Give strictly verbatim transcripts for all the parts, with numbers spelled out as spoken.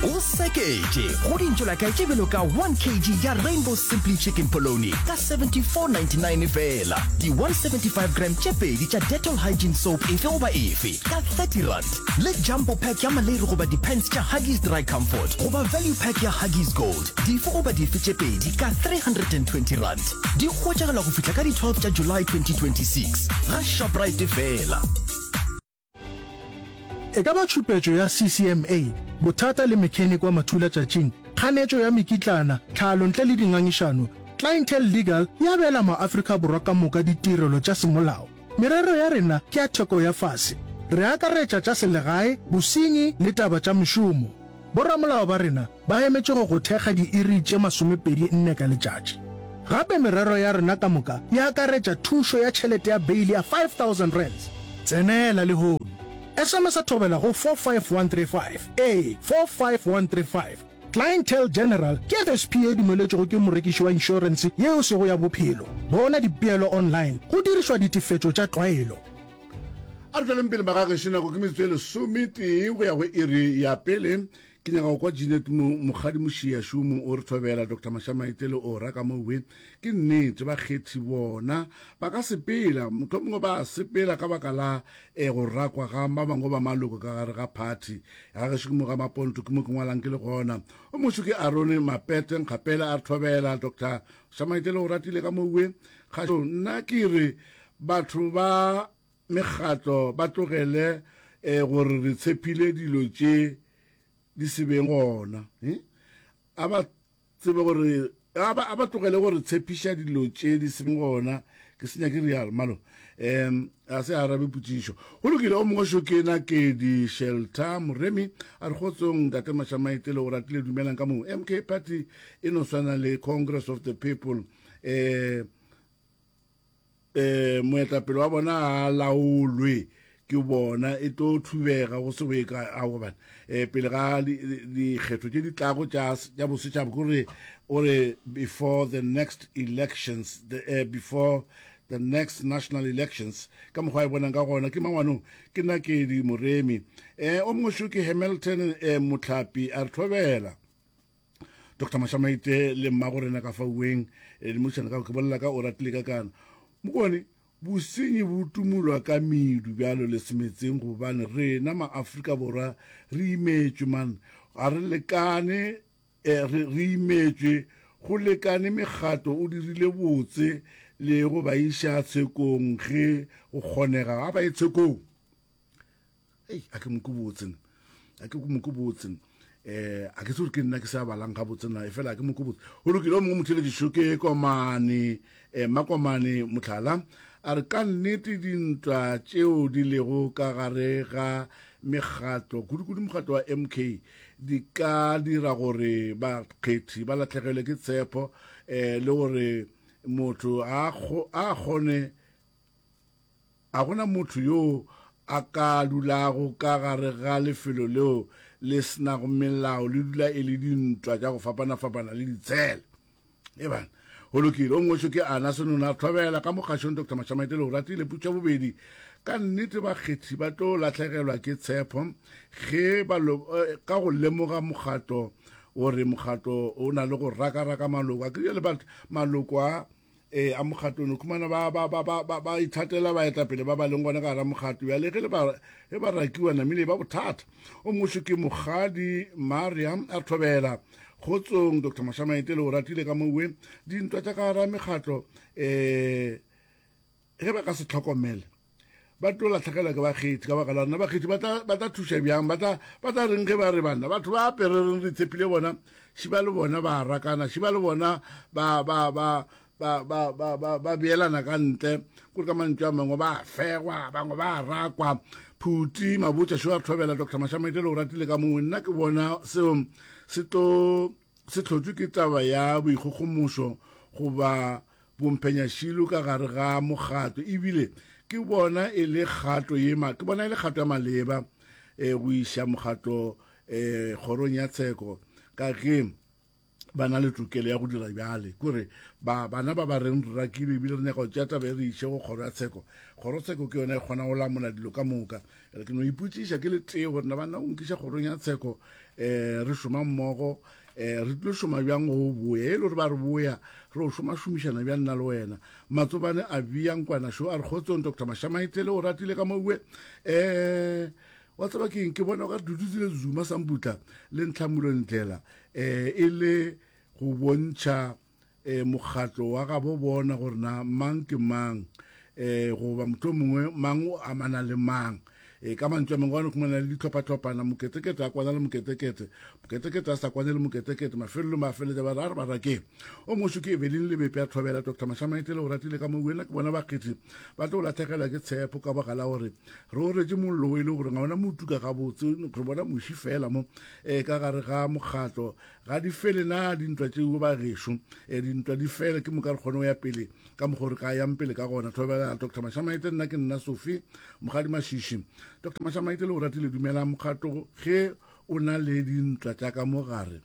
O seketše go dintšolakae tše bjalo ka one kg ya Rainbow Simply Chicken Polony ka seventy-four ninety-nine fela, di one seventy-five gram tše pedi tša Dettol Hygiene Soap efe goba efe ka thirty rand, le Jumbo Pack ya maleiri goba di-pants tša Huggies Dry Comfort goba Value Pack ya Huggies Gold dife goba dife tše pedi ka three hundred and twenty rand. Di hwetšagala go fihla ka di twelve tša July twenty twenty-six ga Shoprite fela. E ka ba tšhupetšo ya C C M A, bothata le mechanic wa mathulatšatšing, kganetšo ya mekitlana, tlhalo ntle le dingangišano, Clientele Legal e abela maAfrika Borwa ka moka ditirelo tša semolao. Merero ya rena ke ya theko ya fase. Re akaretša tša selegae, bosenyi le taba tša mešomo. Boramolao ba rena ba emetše go go thekga diiri tše masomepedi nne ka letšatši. Gape merero ya rena ka moka e akaretša thušo ya tšhelete ya beili ya five thousand rands. Tsenela lehono. S M S a thobela go four five one three five, ee, four five one three five. Clientele General ke F S P e dumeletšwego ke morekiši wa inšorense yeo e sego ya bophelo. Bona dipeelo online go dirišwa ditefetšo tša tlwaelo. A re tšweleng pele magagešo, nako ke metsotso e lesometee go ya go iri ya pele. Ke nyaka go kwa Jeanette Mokgadi Mošiašomo o re thobela, Doctor Mashamaite le Ora ka mowe. Ke nnete bakgethi bona ba ka sepela, mohlomongwe ba sepela ka baka la eh, go rakwa ga ba bangwe ba maloko ka gare ga party. Ga gešo ke mo ga Maponto, ke mo ke ngwalang ke le gona. O mošo ke Arone Mapete Nkgapela a re thobela, Doctor Mashamaite le o ratile ka mowe. Kgašo nna ke re batho ba mekgatlo ba tlogele eh, gore re tshepile dilo tše di se beng gona. Eh? A ba tsebe gore a ba, a ba tlogele gore tshepiša dilo tše di se beng gona. Ke senya ke real malo. Em a se arabe potšišo. Go lokile, o mongwe šo ke na ke di Shelter Moremi a re kgotsong ntate Mashamaite le o ratile dumelang ka moo. M K Party e no swana le Congress of the People. Eh, eh, moetapele wa bona a laolwe ke bona e tlo thubega go se go ye kae. Ao, gobane, eh, pele ga dikgetho tše di tlago tša, tša bosetšhaba, ke gore o re before the next elections, the, eh, before the next national elections, ka mokgwa e bonang ka gona ke mangwanong ke nna ke di Moremi. Eh, o mongwe šo ke Hamilton, eh, Motlhapi a re thobela Doctor Mashamaite le mmago rena ka fauweng, eh, le mošana ka ke bolela ka o ratile ka kana. Mokone, bosenyi bo tumulwa ka medu bjalo le semetseng, gobane rena maAfrika Borwa re imetšwe man, ga re lekane, eh, re, re imetšwe go lekane mekgatlo o dirile botse le go ba iša tshekong ge go kgonega. Ga ba ye tshekong. Ei, a ke moko botse, a ke moko botse. Eh, a ke tsore ke nna ke sa balang ga botse na, e fela a ke moko botse. Go lokile, o mongwe motheletši ke Komane, eh, Makomane Motlhala a re ka nnete dintwa tšeo di lego ka gare ga mekgatlo, kudu-kudu mokgatlo wa M K, di ka dira gore bakgethi ba lahlegelwe ke tshepo, eh, le gore motho a kgo-, a kgone, a gona motho yo a ka dulago ka gare ga lefelo leo le senago melao, le dula e le dintwa tša go fapana-fapana le ditshele. E bana, go lokile. O mongwe šo ke Ana Senona thobela ka mokgašong Doctor Mashamaite le o ratile putša bobedi. Ka nnete bakgethi ba tlo lahlegelwa ke tshepo ge ba lo, eh, ka go lemoga mokgatlo gore mokgatlo o na le go rakaraka maloko. A ke le batho maloko a, eh, a mokgatlo no khumana ba, ba, ba, ba, ba, ba ithatela baetapele ba ba leng gona ka gare mokgatlo. Bjale ge le ba, ge ba rakiwa namile ba bothata. O mongwe šo ke Mokgadi Mariam a thobela kgotsong Doctor Mashamaite le o ratile ka mowe. Dintwa tša ka gare mekgatlo, eh, ge ba ka se tlhokomele ba tlo lahlegelwa ke bakgethi ka baka la rena. Bakgethi ba tla, ba tla thuša bjang? Ba tla, ba tla reng ge ba re banna? Batho ba apere reng re tshepile bona, šiba le bona ba rakana, šiba le bona ba, ba, ba, ba, ba, ba, ba, ba beelana ka ntle. Kore ka mantšu a mangwe ba fegwa, bangwe ba rakwa. Phuti Mabotja šo a thobela Doctor Mashamaite le o ratile ka mongwe. Nna ke bona seo se tlo, se hlotšwe ke taba ya boikgogomošo goba bomphenyašilo ka gare ga mokgatlo, ebile ke bona e le kgato ye ma-, ke bona e le kgato ya maleba, eh, go iša mokgatlo, eh, kgorong ya tsheko, ka ge Ba na le tokelo ya go dira bjale. Kore ba bana ba ba reng re rakilwe ebile re nyaka go tšea taba e re iše go kgoro ya tsheko. Kgorotsheko ke yona e kgona go lamola dilo ka moka. Bjale ke no ipotšiša ke le tee gore na banna o nkiša kgorong ya tsheko um re šoma mmogo um re tlo šoma bjang go boya e le gore ba re boya re o šoma šomišana bjang nna le wena. Matsobane a bea nkwana šo a re kgotsong Doctor Mashamaitele o ratile ka moue um wa tseba ke eng ke bona o ka re Duduzile Zuma Sambutla le Ntlhamulo Ndlela um e le go bontšha um mokgatlo wa gabo bona gore na mang ke mang um goba motho mongwe mang o amana le mang. E ka mantšu a mangwe gane khumana le ditlhophatlhophana moketekete a kwana le moketekete moketekete a sa kwane le moketekete mafelelong ba feletša ba re a re ba rakeng o mošo ke Evelyn Lebepe a thobela Doctor Mashamaitele o ratile ka mo wena ke bona bakgethi ba tlo latlhegelwa ke tshepo ka baka la gore re oretše mollo o e le gore ga ona motuka gabotse re bona moši fela mo um ka gare ga mokgatlo ga di fele na dintwa tšeo ba gešo um dintwa di fele ke moka re kgone go ya pele ka mokgwa re ka yang pele ka gona. Thobela Doctor Mashamaite nna ke nna Sophie Mogadi Mashishi. Doctor Mashamaite le o ratile dumela mokgatlo ge o na le dintwa tša ka mo gare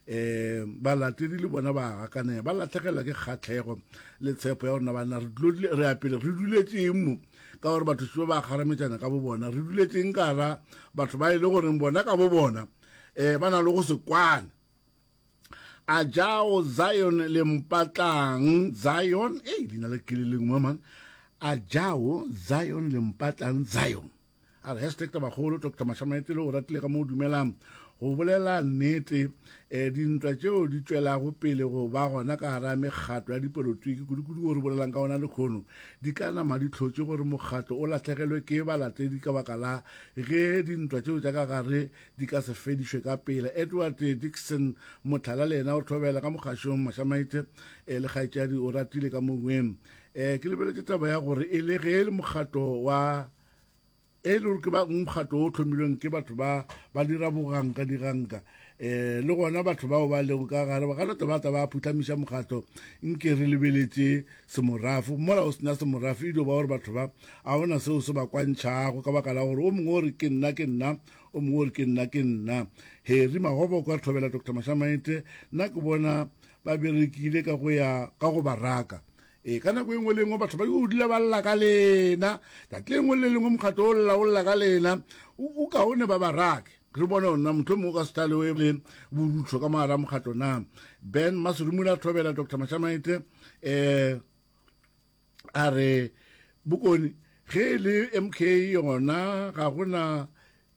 um balatedi le bona ba gakanega ba latlhegelwa ke kgatlhego le tshepo ya gore na banna re tlo re ya pele re duletšeng mo ka gore batho šio ba kgarametšana ka bo bona re duletšeng ka ra batho ba e le goreng bona ka bo bona um ba na le go se kwane. A jao Zion le mpatlang Zion ei leina le ke le lengwe man a jao Zion le mpatlang Zion a re hashtag tabakgolo Doctor Mashamaitele o ratile ka mo o dumelang go bolela nnete um dintwa tšeo di tšwelago pele go ba gona ka gara mekgatlo ya dipolotiki kudu-kudu go re bolelang ka ona lekgono di ka nama di tlhotše gore mokgatlo o latlhegelwe ke balatedi ka baka la ge dintwa tšeo tša ka gare di ka se fedišwe ka pele. Edward Dixon Motlhala le yena o thobela ka mokgašong Mashamaite um le kgaetšadi o ratile ka mongweng um ke lebeletše taba ya gore e le ge e le mokgatlo wa e le gore ke ba mokgatlo o tlhomilweng ke batho ba ba dira boganka diganka um le gona batho bao ba lego ka gare ba ka no ba tla ba phuhlamiša mokgatlo nke re lebeletše semorafo mola o sena semorafo e dio ba gore batho ba a ona seo se ba kwantšhago ka baka la gore o mongwe o re ke nna ke nna o mongwe o re ke nna ke nna. Harry Magoboko a re thobela Doctor Mashamaite nna ke bona ba berekile ka go ya ka go ba raka e ka nako e nngwe le nngwe batho ba yo dula ba lla ka lena tšatši le lengwe le lengwe mokgatlo o lla o lla ka lena o kaone ba ba rake re bone gore na motho mongwe o ka se tlale o e le borutho ka mogare a mokgatlo na. Ben Maserumula a thobela Doctor Mashamaite um a re bokone ge e le M K yona ga gona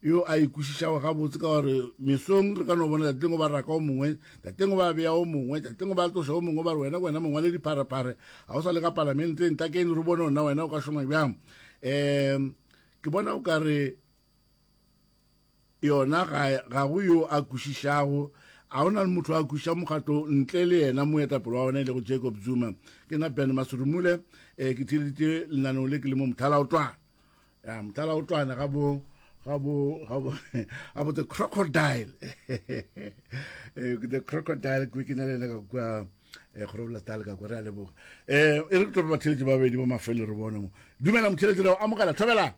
yo a ikwešišago gabotse ka gore mesong re ka no bona tšatši lengwe ba raka o mongwe tšatši lengwe ba bea o mongwe tšatši lengwe ba tloša o mongwe ba re wena ke wena mongwe le dipharephare ga o sa le ka palamenteng tla keng re bone nna wena o ka šoma bjang. Um ke bona o ka re yona ga ga go yo a kwešišago a ona le motho a kwešiša mokgatlo ntle le yena moetapele wa ona e lego Jacob Zuma. Ke nna Ben Maserumule um ke theeleditše lenaneo le ke le mo Mothalaotwana ya Mothalaotwana ga bo ga bo ga bo ga bo the crocodile the crocodile ke ke na le ka kwa Groblersdal ka kwa re a leboga. Eh e re ke tlo batheletši ba babedi ba mafelo re bone mo. Dumela motheletši re amogela thobela.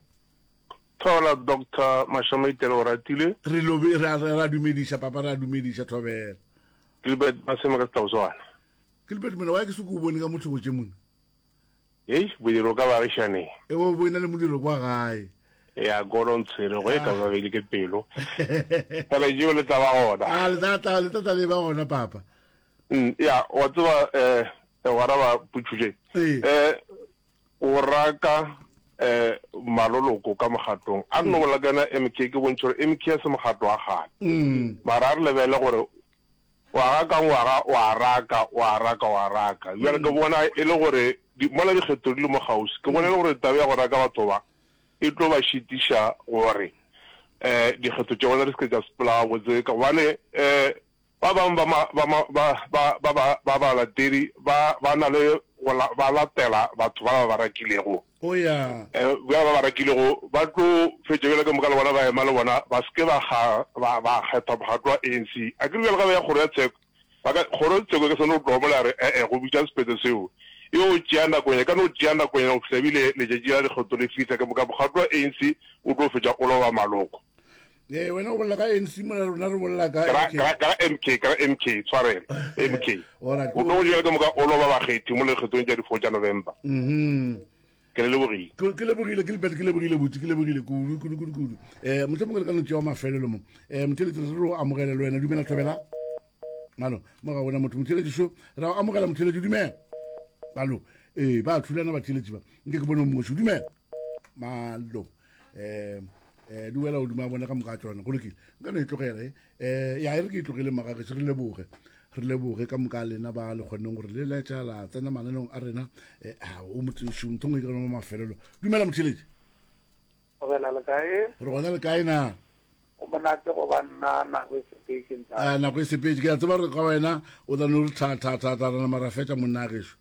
Thola Doctor Mashamaitele o ratile. Re lobe re a dumediša papa re a dumediša thobela. Gilbert Maseme ka Setauswana. Gilbert mona wa ke se ko bone ka motho go tše mona. Hei modiro ka baagišaneng. E bo bo ena le modiro kwa gae. Ya golo ntshwere go e ka ba bele ke pelo. Fela jeo le tla ba gona. Ah le tla tla le tla le ba gona papa. Mm ya wa tseba eh wa raba putšhuje. Eh o raka eh maloloko ka mokgatlong. A nno bolela ka yona M K ke bontšha gore M K ya se mokgatlo wa kgale. Mara a re lebele gore ngwaga ka ngwaga wa raka wa raka wa raka. Bjale ke bona e le gore mola dikgetho di le mo kgauswi ke bona e le gore taba ya go raka batho ba e tlo ba šitiša gore um dikgetho tša bona di se ke tša sepela gabotse ka gobane um ba bangwe ba ba ba ba ba ba balatedi ba ba na le go ba latela batho ba ba ba rakilego. Oh ya. Eh ba ba ba rakilego ba tlo fetša bjale ka moka le bona ba ema le bona ba se ke ba ga ba ba kgetha mokgatlo wa A N C. A ke re bjale ga ba ya kgoro ya tsheko ba ka kgoro ya tsheko e ka se no tloga mola ya re eh eh go bitša sephetho seo e o tšea nakonyana e ka no tšea nakonyana go fihla ebile letšatši la dikgetho le fihla ke moka mokgatlo wa A N C o tlo fetša o loba maloko. Ee, wena o bolela ka ANC mola rona re bolela ka Ke ra- MK. ke ra- ke ra MK, ke ra MK, tshwarelo, MK. Alright. O tlo go jela ka moka o loba bakgethi mo lekgethong tša di-four tša November. Mhm. Ke le lebogile. Ke ke lebogile, Gilbert, ke lebogile buti, ke lebogile kudu, kudu, kudu, kudu. Eh, mohlomongwe re ka no tšea wa mafelelo mo. Eh, motheeletši, re re o amogele le wena. Dumela, Thobela. Malo, mo ga gona motho. Motheeletši šo, re a o amogela, motheeletši, dumela. Malo, ee, ba thulana batheeletši ba. Nke ke bone o mongwe šo, dumela. Malo, eh, eh, di wela godimo a bona ka moka tsona. Go lokile. Nka no e tlogela, eh. Eh, ya, e re ke e tlogele magagešo, re leboge. Re leboge ka moka lena ba le kgonneng gore le letša la tsena mananeong a rena. Eh, a, o motseši, ntho e nngwe ke rena mo mafelelo. Dumela, motheeletši. Gobela le kae? Re gona le kae na? Go monate go ba nna nako e sepetše ntate. A, nako e sepetše. Ke a tseba gore ka wena o tla no re tha, tha, tha, tha, rena mara fetša monna gešo.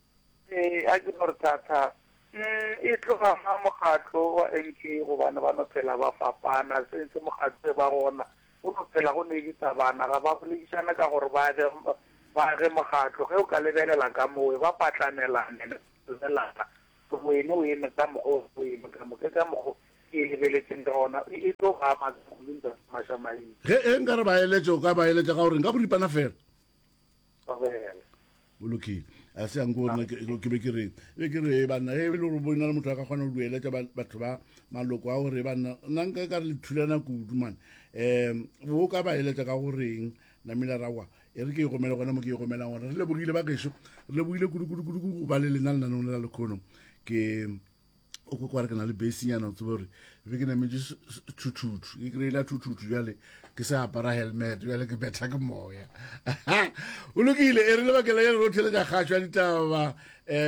Ee, a ke no re tha, tha. Mm, e tloga ga mokgatlo wa M K gobane ba no phela ba fapana, se se mokgatlo e ba gona. Go no phela go ne ditabana, ga ba boledišana ka gore ba age, ba age mokgatlo. Ge o ka lebelela ka moo, ba patlanelane, lebelana. Wene o eme ka mokgo, o eme ka mokgo, ke ka mokgo ke e lebeletseng ka gona. E, e tlo ba ama kudu ntate Mašamaite. Ge e nka re ba eletše, o ka ba eletša ka gore nka boripana fela. Thobela. O lokile. A se yang ko nna ke, ke be ke re, be ke re, banna, ge e le gore bo na le motho a ka kgona go dueletša ba-, batho ba maloko a gore banna, nna nka ka re le thulana kudu, man. Um, bo ka ba eletša ka goreng, namile rawa, e re ke e gomele gona mo ke e gomelang gona. Re lebogile ba gešo, re lebogile kudu, kudu, kudu, kudu go ba le lena lenaneong la lekhono. Ke, o kwa kwa re ke na le basinyana, o tsebe gore be ke nametše s-, s-, thuthuthu, ke kry-ile thuthuthu bjale, ke sa apara helmet, bjale ke betha ke moya. O lokile, e re lebakela ya re ro theletša kgašo ya ditaba, eh,